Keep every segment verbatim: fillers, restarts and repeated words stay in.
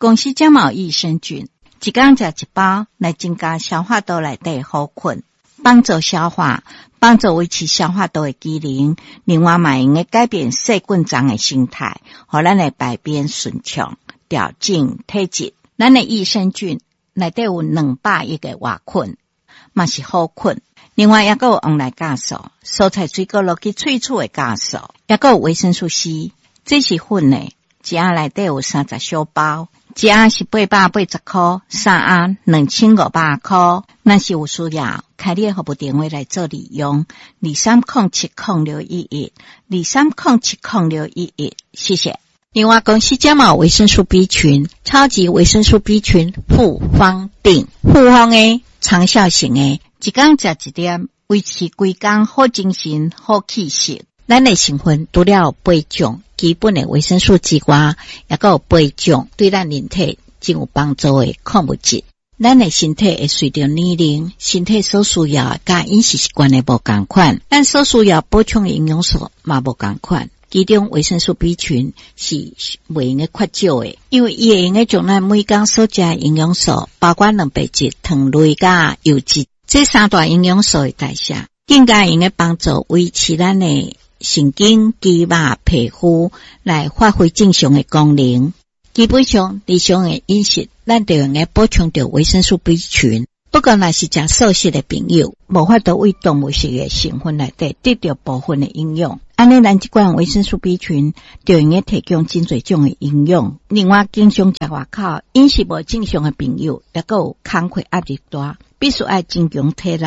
公司遮嘛有益生菌，一工食一包，來增加消化道內底好菌，幫助消化，幫助維持消化道的機能。另外嘛會用改變細菌叢的生態，予咱的排便順暢，調整體質。咱的益生菌內底有兩百億个活菌，嘛是好菌。另外，抑閣有黃奶酵素、蔬菜水果落去萃取的酵素，抑閣有維生素 C，這是粉的，一盒內底有三十小包，一盒是八百八十箍，三盒兩千五百箍。若是有需要，開你的服務電話來做利用，二三空七空六一一，二三空七空六一一，謝謝。另外，公司遮嘛有維生素 B 群，超級維生素 B 群複方錠，複方的長效型的，一工食一粒，維持規工好精神、好氣色。咱的成分除了有八種基本的維生素之外，抑閣有八種對咱人體真有幫助的礦物質。咱的身體會隨著年齡，身體所需要的佮飲食習慣的無仝款，咱所需要補充的營養素嘛無仝款。其中維生素 B 群是袂用得缺少的，因為伊會用得將咱每工所食的營養素，包括蛋白質、糖類佮油脂，這三大營養素的代謝，更加會用得幫助維持咱的神經、肌肉、皮膚來發揮正常的功能。基本上，日常的飲食，咱就用得補充著維生素 B 群。不過，若是食素食的朋友，無法度對動物性的成分內底得著部分的營養。按呢，咱這款維生素 B 群就用得提供真濟種的營養。另外，經常食外口飲食無正常的朋友，抑閣有工課壓力大，必須愛增強體力。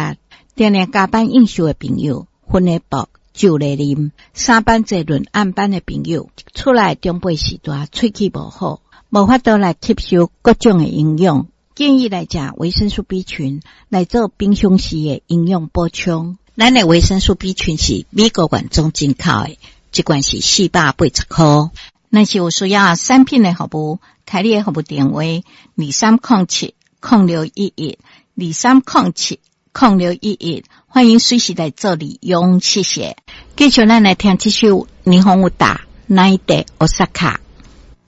定定加班應酬的朋友，昏的薄，酒咧啉，三班坐輪暗班的朋友，厝內長輩序大，喙齒無好，無法度來吸收各種的營養。建議來食維生素 B 群來做平常時的營養補充。咱的維生素 B 群是美國原裝進口的，一罐是四百八十箍。若是有需要產品的服務，開你的服務電話：二三空七空六一一，二三空七空六一一，歡迎隨時來做利用，謝謝。繼續咱來聽這首霓虹有打，奈得奧薩卡。